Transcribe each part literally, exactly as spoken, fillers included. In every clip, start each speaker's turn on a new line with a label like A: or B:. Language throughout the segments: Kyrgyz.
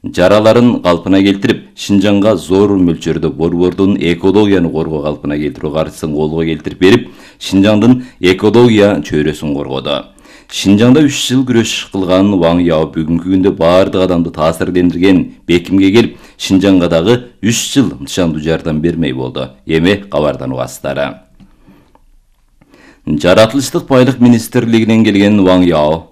A: жараларын калпына келтирип, Шинжаңга зор мөлчөрдө борбордун экологияны коргоо калпына келтирүү каржысын колго келтирип берип, Шинжаңдын экология чөйрөсүн коргоду. Шинжаңда үч жыл күрөш кылган Ваң Яо бүгүнкү күндө бардык адамды таасирлендирген бекимге келип, Шинжаңга дагы үч жыл нышандуу жардам бермей болду. Эми кабардан угасыздар. Жаратылыштык байлык министрлигинен келген Ваң Яо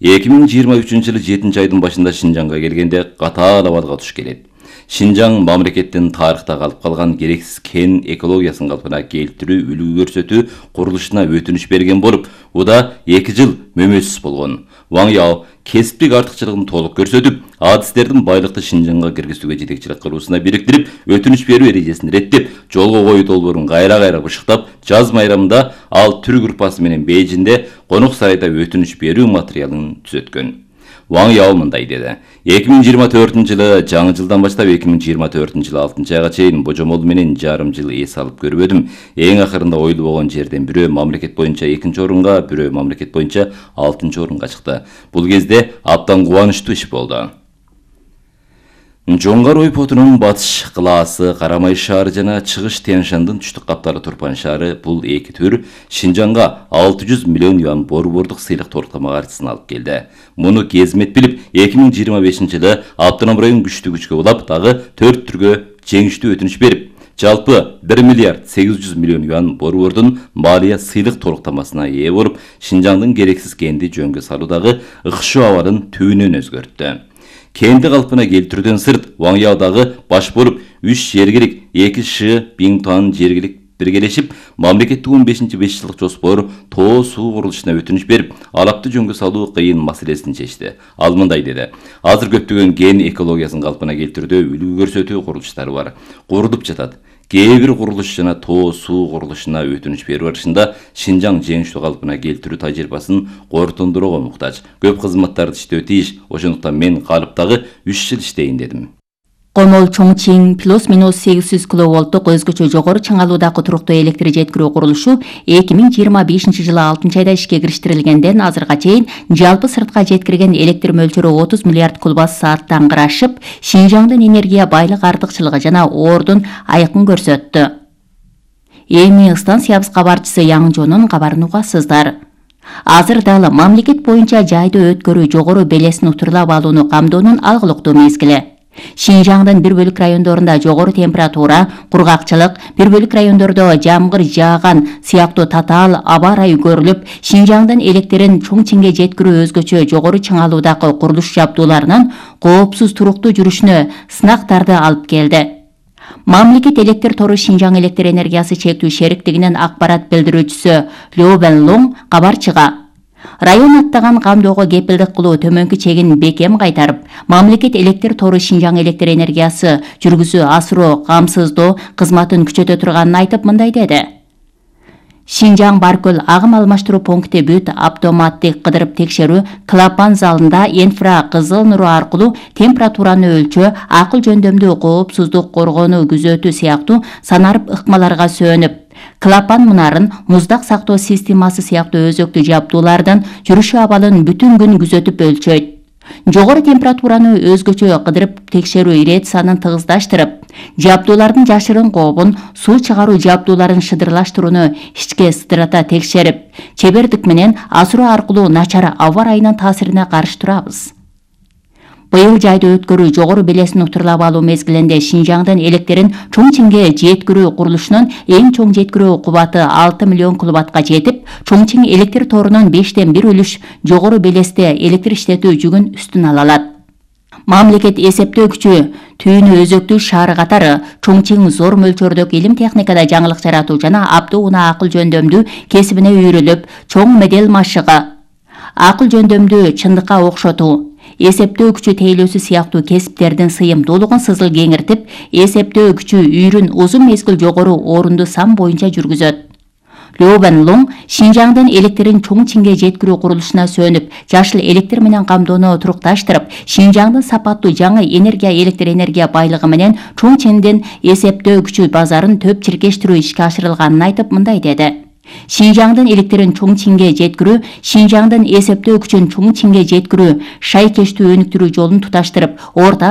A: эки миң жыйырма үчүнчү жылы жетинчи айдын башында Шинжаңга келгенде катаал абалга туш келет. Шинжаң мамлекеттин тарыхта калып калган керексиз кен экологиясын калпына келтирүү, үлгү көрсөтүү курулушуна өтүнүч берген болуп, уда эки жыл мөмөсүз болгон. Ваң Яо кесиптик артыкчылыгын толук көрсөтүп, адистердин байлыкты Шинжаңга киргизүүгө жетекчилик кылуусуна бириктирип, өтүнүч берүү эрежесин реттеп, жолго коюу долбоорун кайра-кайра бышыктап, жаз майрамында ал түрк группасы менен Бейжинде конок сарайда өтүнүч берүү материалын түзөткөн. Ваң Яо мындай деди. эки миң жыйырма төртүнчү жылы жаңы жылдан баштап эки миң жыйырма төртүнчү жылы алтынчы айга чейин божомол менен жарым жыл эс алып көрбөдүм. Эң акырында ойлуу болгон жерден бирөө мамлекет боюнча экинчи орунга, бирөө мамлекет боюнча алтынчы орунга чыкты. Бул кезде абдан кубанычтуу иш болду. Жоңгар ойпотунун батыш кылаасы, Карамай шаары жана чыгыш Тянь-Шандын түштүк каптары Турпан шаары бул эки түр Шинжаңга алты жүз миллион юан борбордук сыйлык торктомо каржысын алып келди. Муну кезмет билип, эки миң жыйырма бешинчи жылы автоном район күчтүү күчкө улап, дагы төрт түргө жеңиштүү өтүнүч берип, жалпы бир миллиард сегиз жүз миллион юан борбордун малия сыйлык торктомосуна ээ болуп, Шинжаңдын керексиз кенди жөнгө салуудагы ыкшоо абалын түбүнөн өзгөрттү. Кенди калпына келтирүүдөн сырт, Ваң Яо дагы баш болуп, үч жергилик эки Ш Биңтуан жергилик биргелешип, мамлекеттик он бешинчи беш жылдык жоспор тоо суу курулушуна өтүнүч берип, алапты жөнгө салуу кыйын маселесин чечти. Ал мындай деди. Азыр көптөгөн кен экологиясын калпына келтирүүдө үлгү көрсөтүү курулуштары бар. Курулуп жатат. Кээ бир курулуш жана тоо суу курулушуна өтүнүч берүү барышында Шинжаң жеңиштүү калпына келтирүү тажрыйбасын кортундурууга муктаж. Көп кызматтарды иштөө тийиш, ошондуктан мен калыптагы үч жыл иштейин дедим.
B: Комол Чоңчиң плюс-минус сегиз жүз киловолттук өзгөчө жогору чыңалуудагы туруктуу электр жеткирүү курулушу эки миң жыйырма бешинчи жылы алтынчы айда ишке кириштирилгенден азырга чейин жалпы сыртка жеткирген электр мөлчөрү отуз миллиард кубат сааттан ашып, Шинжаңдын энергия байлык артыкчылыгы жана ордун айкын көрсөттү. Эми станциябыз кабарчысы Яңжонун кабарын угасыздар. Азыр дагы мамлекет боюнча жайды өткөрүү жогору белесин утурлап алууну камдоонун алгылыктуу мезгили. Шинжаңдын бир бөлүк райондорунда жогору температура, кургакчылык, бир бөлүк райондордо жамгыр жааган сыяктуу татаал аба ырайы көрүлүп, Шинжаңдын электрин Чоңчиңге жеткирүү өзгөчө жогору чыңалуудагы курулуш жабдууларынын коопсуз туруктуу жүрүшүнө сынактарды алып келди. Мамлекет электр тору Шинжаң электр энергиясы чектүү шериктигинин акпарат билдирүүчүсү Лю Бенлоң кабарчыга район аттаган камдоого кепилдик кылуу төмөнкү чегин бекем кайтарып, мамлекет электр тору Шинжаң электр энергиясы жүргүзүү асыроо камсыздоо кызматын күчөтө турганын айтып мындай деди. Шинжаң Баркөл агым алмаштыруу пункти бүт автоматтык кыдырып текшерүү клапан залында инфра кызыл нуру аркылуу температураны өлчөө, акыл жөндөмдүү коопсуздук коргонуу күзөтүү сыяктуу санарып ыкмаларга сөнүп, клапан мунарын, муздак сактоо системасы сыяктуу өзөктүү жабдуулардан жүрүшү абалын бүтүн күн күзөтүп өлчөйт. Жогору температураны өзгөчө кыдырып текшерүү ирециясын тыгыздаштырып, жабдуулардын жашырын кообун, суу чыгаруу жабдууларын шыдырлаштырууну ичке сыдырата текшерип, чебердик менен асыруу аркылуу начар аба ырайынын таасирине каршы турабыз. Быйыл жайды өткөрүү жогору белесин утурлап алуу мезгилинде Шинжаңдын электрин Чоңчиңге жеткирүү курулушунун эң чоң жеткирүү кубаты алты миллион киловаттка жетип, Чоңчиң электр торунун бештен бир үлүш жогору белесте электр иштетүү жүгүн үстүн ала алат. Мамлекет эсептөө күчү түйүнү өзөктүү шаары катары Чоңчиң зор мөлчөрдөгү илим техникада жаңылык жаратуу жана абдуу унаа акыл жөндөмдүү кесибине үйрүлүп, чоң медел машыгы, акыл жөндөмдүү чындыкка окшотуу, эсептөө күчү тейлөөсү сыяктуу кесиптердин сыйымдуулугун сызыл кеңиртип, эсептөө күчү үйрүн узун мезгил жогору орунду сан боюнча жүргүзөт. Лю Бенлоң Шинжаңдын электрин Чоңчиңге жеткирүү курулушуна сөнүп, жашыл электр менен камдоону турукташтырып, Шинжаңдын сапаттуу жаңы энергия электр энергия байлыгы менен Чоңчиңдин эсептөө күчү базарын төп чиркештирүү ишке ашырылганын айтып мындай деди. Шинжаңдын электрин Чоңчиңге жеткирүү, Шинжаңдын эсептөө күчүн Чоңчиңге жеткирүү шайкештүү өнүктүрүү жолун туташтырып, орта